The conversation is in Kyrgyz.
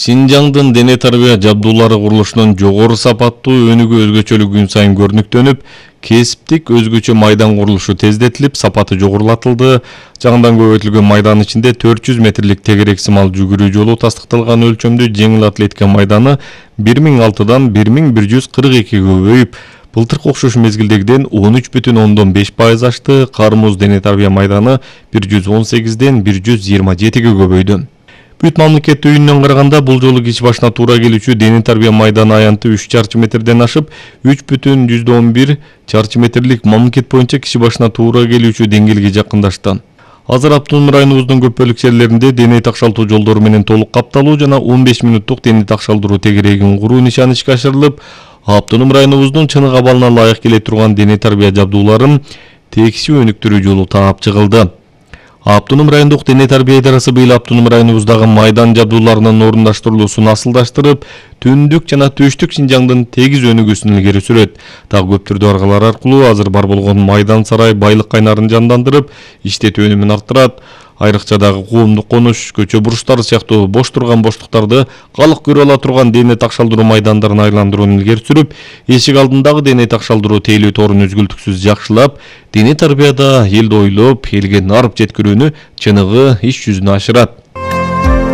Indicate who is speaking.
Speaker 1: Шинжаңдын дене тарбия жабдуулары курулушунун жогору сапаттуу өнүгүү өзгөчөлүгү күн сайын көрүнүктөнүп, кесиптик өзгөчө майдан курулушу тездетилип, сапаты жогорулатылды. Жаңыдан көбөйтүлгөн майданын ичинде 400 метрлик тегерек сымал жүгүрүү жолу, тастыкталган өлчөмдүү жеңил атлетика майданы 1006дан 1142-ге көбөйүп, былтыркы окшош мезгилдегиден 13,5% ашты. Кармуз дене тарбия майданы 118ден 127-ге көбөйдү. Бүт мамлекеттик үйүнөн караганда бул жолу киши башына туура келүүчү дене тарбия майданы аянты 3 чарчы метрден ашып, 3,11 чарчы метрлик мамлекет боюнча киши башына туура келүүчү деңгээлге жакындашты. Азыр автоном районубуздун көп бөлүк жерлеринде дене такшалтуу жолдору менен толук капталуу жана 15 минуттук дене такшалдыруу тегерегин куруу нишаны ишке ашырылып, автоном районубуздун чыныгы абалына ылайык келе турган дене тарбия жабдууларын текшүү өнүктүрүү жолу таап чыгылды. Автоном райондук дене тарбия идарасы быйыл автоном районубуздагы майдан жабдууларынын орундаштырылуусун асылдаштырып, түндүк жана түштүк Шинжаңдын тегиз өнүгүүсүн илгери сүрөт. Дагы көп түрдүү аргалар аркылуу азыр бар болгон майдан сарай байлык кайнарын жандандырып, иштетүү өнүмүн арттырат. Айрыкча дагы коомдук конуш, көчө бурчтары сыяктуу бош турган боштуктарды калык көрө ала турган дене такшалдыруу майдандарын айландырууну илгери сүрүп, эшик алдындагы дене такшалдыруу тейлөө торун үзгүлтүксүз жакшылап, дене тарбияда элди ойлоп, элге нарып жеткирүүнү чыныгы иш жүзүнө ашырат.